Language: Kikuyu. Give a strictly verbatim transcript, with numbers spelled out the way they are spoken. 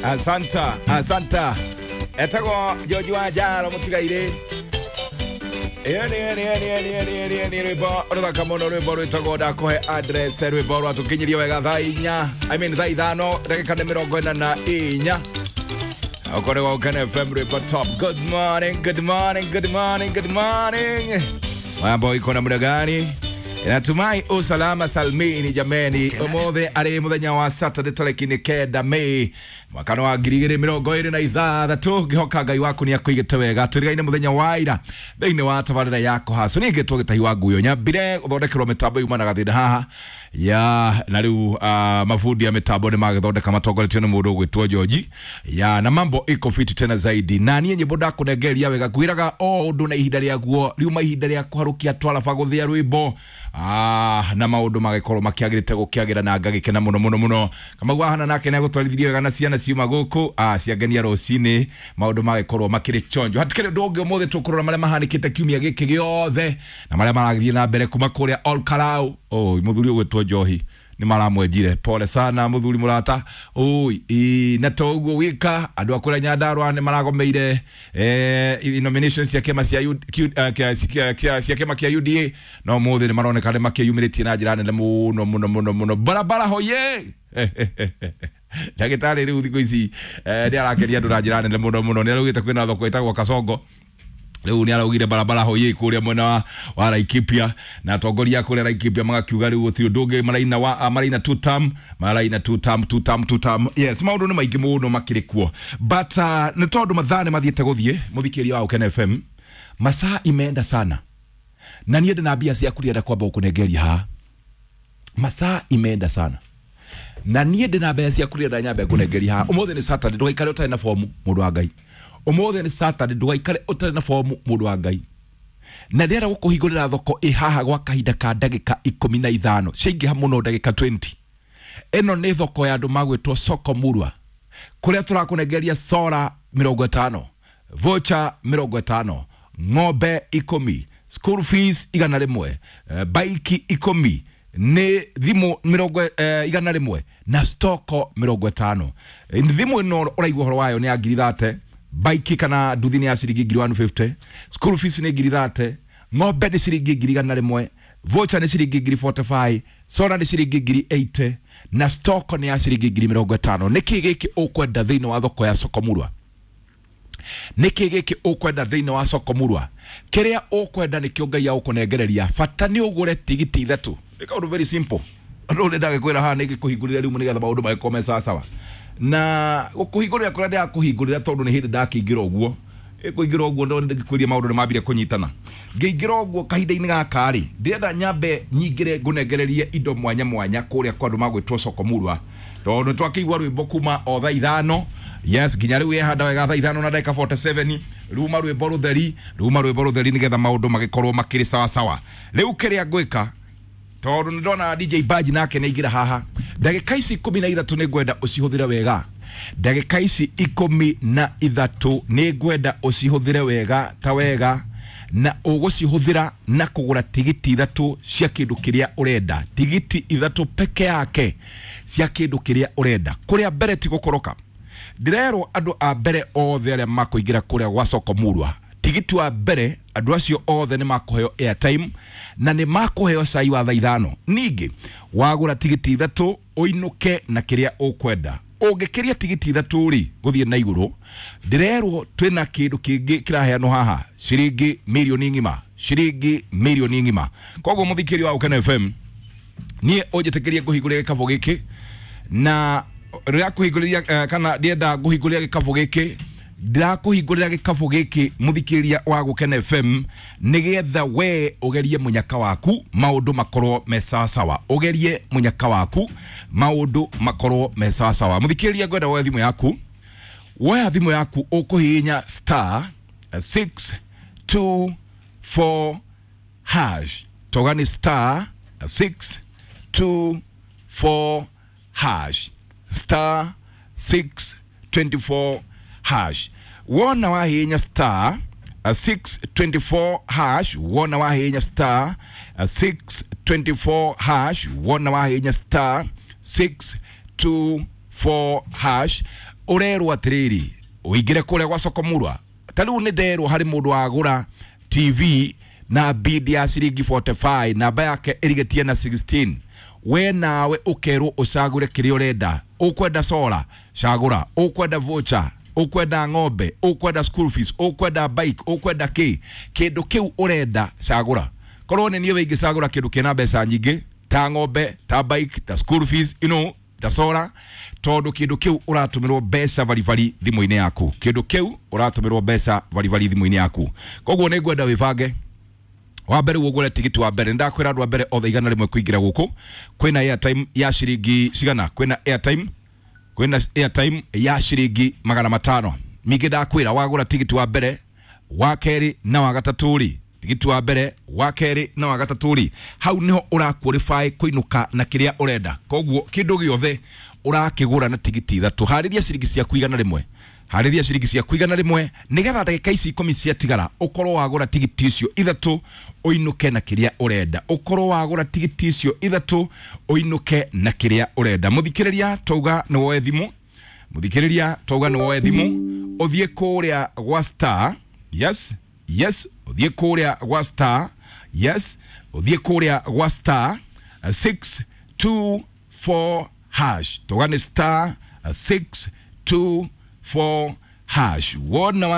Asanta, asanta. Etagwo George wa Njaro mutigaire. Eni eni eni eni eni eni eni rwimbo ruthaka muno rwimbo rwitagwo ndakuhe address rwimbo rwatukinyiria wega thaa inya I mean thaa ithano ndagika nĩ mĩrongo ĩna na inya. Okorwo wa Ukene F M rwimbo top. Good morning, good morning, good morning, good morning. Mambo iko namna gani? Natumai usalama salmini jameni. Umuthi ari muthenya wa Saturday tariki ni kenda Mei mwaka wa ngiri igĩrĩ mĩrongo ĩrĩ na ithathatũ. Ngĩhoka Ngai waku nĩ akũigĩte wega. Tũrigaine mũthenya wa ira thĩinĩ wa tabarĩra ya kũhaco. Niĩ ngĩtwo Gĩtahi wa Nguyo. Nyambire gũthondekerwo mĩtambo yumanaga thĩna haha ya na rĩu uh, mabundi ya mĩtambo nĩ magĩthondeka matongoretio nĩ mũndũ ũgwĩtwo George ya na mambo iko fiti tena zaidi. Na niĩ nyĩmbo ndakũnengeria wega kwĩraga o ũndũ na ihinda rĩaguo riuma ihinda rĩa kũharũkia twaraba gũthĩa rwĩmbo. Ah, na maundu magikorwo makiagirite gukiagira na ngagikena muno muno muno. Kamau ahana nake ne gutwarithirie wega na ciana ciuma guku ah ciangenia rucini maundu magikorwo makiri chonjo. Hatikiri undu ungi umuthi tukurora maria mahanikite kiumia giki giothe na maria maragithie na mbere kuma kuria Ol Kalou. Oh, muthuri ugwitwo Njohi ni maramwenjire. Pole sana muthuri murata. Oi, na to uguo wika andu akura Nyandarua ni maragomeire eh nominations cia kema cia cia kema kia U D A no muthi ni maroneka ni makiyumiritie na njira nene muno muno muno muno. Barabara hoye. Ndagitari riu thiku ici ni arakeria andu na njira nene muno muno. Ni araugite kwina thoko itagwo Kasongo. Riu ni araugire barabara hoye kuria mwena wa, wa Laikipia na atongoria kuria Laikipia magakiuga riu gutiri undu ungi maraina wa maraina two term maraina two term two term two term. Yes, maundu ni maingi muno makiri kuo but uh, ni tondu mathaa ni mathiete guthie muthikiria wa Ukene F M masaa imeenda sana na niĩ ndina mbia ciaku ndienda kwamba gukunengeria haha. Masaa imeenda sana na niĩ ndina mbia ciaku ndienda nyambe ngũnengeria haha. Umuthi ni Saturday, ndugaikare ũtarĩ na fomu mũndũ wa Ngai. Umuthi ni Saturday, ndugaikare ũtarĩ na fomu mũndũ wa Ngai. Na ndĩrenda gũkũhingũrĩra thoko ĩ haha gwa kahinda ka ndagĩka ikũmi na ithano ciaingĩha mũno ndagĩka twenty. Ĩno nĩ thoko ya andũ magwĩtwo Soko Murwa kũrĩa tũrakũnengeria sora mĩrongo ĩtano, voucher mĩrongo ĩtano, ng'ombe ikũmi, school fees igana rĩmwe, baiki ikũmi, nĩ thimũ mĩrongo eh, igana rĩmwe na stoko mĩrongo ĩtano. Thimũ ĩno ũraigua ũhoro wayo nĩ ya ngiri thate, baiki kana nduthi nĩ ya ciringi ngiri one fifty, school fees nĩ ngiri thate, ng'ombe nĩ ciringi ngiri igana rĩmwe, voucher nĩ ciringi ngiri forty five, sora nĩ ciringi ngiri eighty na stoko nĩ ya ciringi ngiri mĩrongo ĩtano. Nĩkĩ gĩkĩ ũkwenda thĩinĩ wa thoko ya Soko Murwa? Nĩkĩ gĩkĩ ũkwenda thĩinĩ wa Soko Murwa? Kĩrĩa ũkwenda nĩkĩo Ngai agũkũnengereria. Bata nĩ ũgũre tigiti ithatũ. Nĩ kaũndũ very simple. Ũndũ ũrĩa ndagĩkwĩra haha nĩ ngĩkũhingũrĩra rĩu nĩgetha maũndũ magĩkorwo me sawa sawa. Na gũkũhingũrĩra kũrĩa ndĩrakũhingũrĩra tondũ nĩ hĩndĩ ndakĩingĩra ũguo. Ĩkũingĩra ũguo ndo ndĩkwĩria maũndũ nĩ mambire kũnyitana. Ngĩingĩra ũguo kahinda-inĩ gaka rĩ, ndĩrenda nyambe nyingĩre ngũnengererie indo mwanya mwanya kũrĩa kwa andũ magwĩtwo Soko Murwa. Tondũ twakĩigua rwĩmbo kuma o thaa ithano. Yes, nginya rĩu ĩhanda wega thaa ithano na ndagĩka forty seven. Ruma rwĩmbo rũtheri, ruma rwĩmbo rũtheri nĩgetha maũndũ magĩkorwo makĩrĩ sawa sawa. Rĩu kĩrĩa ngwĩka tondũ nĩ ndona D J Baji nake nĩ aingĩra haha. Ndagĩka ici ikũmi na ithatũ nĩ ngwenda ũcihũthĩre wega. Ndagĩka ici ikũmi na ithatũ nĩ ngwenda ũcihũthĩre wega ta wega na ũgũcihũthĩra na kũgũra tigiti ithatũ cia kĩndũ kĩrĩa ũrenda. Tigiti ithatũ peke yake cia kĩndũ kĩrĩa ũrenda. Kũrĩa mbere ti gũkoroka. Ndĩrerwo andũ a mbere othe arĩa makũingĩra kũrĩa gwa Soko Murwa, tigiti wa mbere andũ acio othe nĩ makũheo airtime na nĩ makũheo cai wa thaa ithano. Ningĩ wagũra tigiti ithatũ ũinũke na kĩrĩa ũkwenda. Ũngĩkĩria tigiti ithatũ rĩ gũthiĩ na igũrũ, ndĩrerwo twĩna kĩndũ kĩngĩ kĩraheanwo haha ciringi mirioni ng'ima, ciringi mirioni ng'ima. Koguo mũthikĩria wa Ukene F M, niĩ ũnjĩtĩkĩrie ngũhingũrĩre gĩkabũ gĩkĩ na rĩrĩa kũhingũrĩria kana ndienda ngũhingũrĩra gĩkabũ gĩkĩ ndirakũhingũrĩra gĩkabũ gĩkĩ mũthikĩria wa Gũkena F M nĩgetha we ũgerie mũnyaka waku maũndũ makorwo me sawa sawa. Ũgerie mũnyaka waku maũndũ makorwo me sawa sawa. Mũthikĩria ngwenda woe thimũ yaku, woya thimũ yaku ũkũhihinya star six two four hash. Toga ni star six two four hash, star six twenty four hash. Wona wahinya star six twenty four hash, wona wahinya star six twenty four hash, wona wahinya star six two four hash. Ũrerwo atĩrĩrĩ, ũingĩre kũrĩa gwa soko murwa. Ta rĩu nĩ nderwo harĩ mũndũ wagũra T V na bid ya ciringi mĩrongo ĩna na ithano, namba yake ĩrigĩtie na ikũmi na ithathatũ. We nawe ũkerwo ũcagũre kĩrĩa ũrenda. Ũkwenda solar, cagũra. Ũkwenda voucher, ũkwenda ng'ombe, ũkwenda school fees, ũkwenda bike, ũkwenda kĩ, kĩndũ kĩu ũrenda cagũra. Korwo nĩ niĩ wĩingĩcagũra kĩndũ kĩna mbeca nyingĩ ta ng'ombe, ta bike, ta school fees, you know, ta solar, tondũ kĩndũ kĩu ũratũmĩrwo mbeca baribari thimũ-inĩ yaku. Kĩndũ kĩu ũratũmĩrwo mbeca baribari thimũ-inĩ yaku. Koguo nĩ ngwenda wĩbange. Wa mbere ũgũre tigiti wa mbere. Ndakwĩra andũ a mbere othe igana rĩmwe kũingĩra gũkũ, kwĩna airtime ya ciringi cigana? Kwĩna airtime, kwĩna airtime ya ciringi magana matano. Ningĩ ndakwĩra wagũra tigiti wa mbere, wa kerĩ na wa gatatũ rĩ, tigiti wa mbere, wa kerĩ na wa gatatũ rĩ, hau niho ũra qualify kũinũka na kĩrĩa ũrenda. Koguo kĩndũ gĩothe ũrakĩgũra na tigiti ithatũ, harĩria ciringi ciaku igana rĩmwe, harĩria ciringi ciaku igana rĩmwe, nĩgetha ndagĩka ici ikũmi ciatigara ũkorwo wagũra tigiti icio ithatũ, ũinũke na kĩrĩa ũrenda. Ũkorwo wagũra tigiti icio ithatũ, ũinũke na kĩrĩa ũrenda. Mũthikĩrĩria, twauga nĩ woe thimũ. Mũthikĩrĩria, twauga nĩ woe thimũ, ũthiĩ kũrĩa gwa star, yes yes, ũthiĩ kũrĩa gwa star, yes, ũthiĩ kũrĩa gwa star six two four hash. Twauga nĩ star six two four hash. Wona.